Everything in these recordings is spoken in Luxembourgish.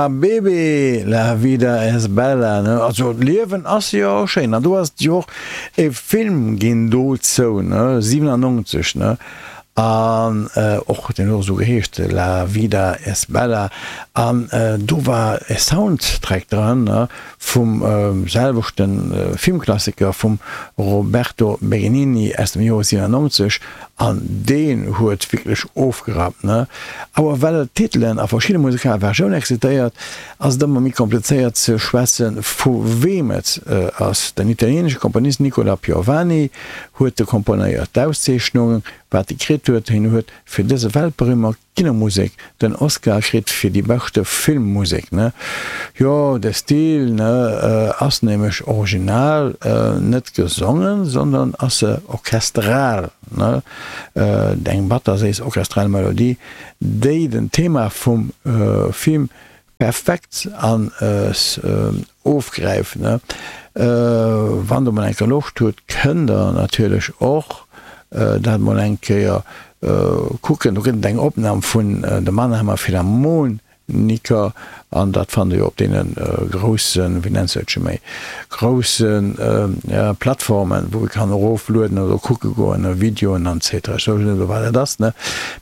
Habibi, la vida es bella, ne? Also d'Liewen ass jo schéin. An do ass et jo och e Film ginn dozou, ne, 97, ne? An och, deen huet och esou geheescht, La vida es bella. An do war e Soundtrack dran, ne, vum selwechte Filmklassiker vum Roberto Benigni aus dem Joer 97. An deen huet wierklech ofgerappt, ne? Awer well d'Titelen a verschidde musikal Versiounen existéiert, ass et ëmmer méi komplizéiert ze schwätzen, vu weem et ass. Den italienesche Komponist Nicola Piovani huet e komponéiert. D'Auszeechnung, wat e kritt huet, hien huet fir dëse weltberühmer Kinomusek den Oscar kritt fir déi beschte Filmmusek, ne? Jo, de Stil, ne, ass nämlech original net gesongen, sondern ass se orchestral, ne? Eng batterséiss orchestral Melodie, déi den Thema vum Film Perfekt an ofgräift ne. Wann der mol eng Kéier Loscht hutt kënnt der natierlech och dat mol eng Kéier kucken. Do gëtt et eng Opnahm vun de Mannheimer Philharmoniker an dat fannt der jo op deene groussen, wéi nennt se dat scho méi, groussen Plattformen wou ee kann eroflueden oder kucke goen, Videoen an etc. Ech weess net elo wat dat ass ne,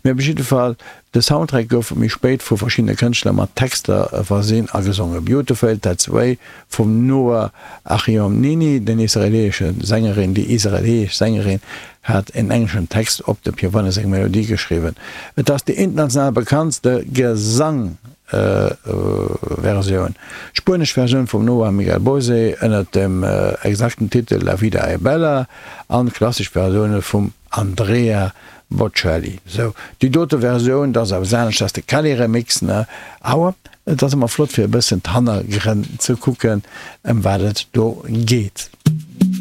mee op jidde Fall De Soundtrack gouf méi spéit vu verschiddene Kënschtler mat Texter versinn a gesongen. Beautiful That's Way vum Noa Achionini, den israeleesche Sängerin, déi israeleesch Sängerin hat en engleschen Text op dem Piovani seng Melodie geschriwwen. Et ass déi international bekanntste Gesang-Versioun. D'spuenesch Versioun vum Noa Miguel Bosé ënner dem exakten Titel La vida è bella an d'klassesch Versioune vum Andrea Bocelli, Sou, déi dote Versioun, dat ass eppes anescht, dat ass de Kelly Remix, ne? Awer et ass ëmmer flott fir e bëssen d'Hannergrënn ze kucken, ëm wat et do geet.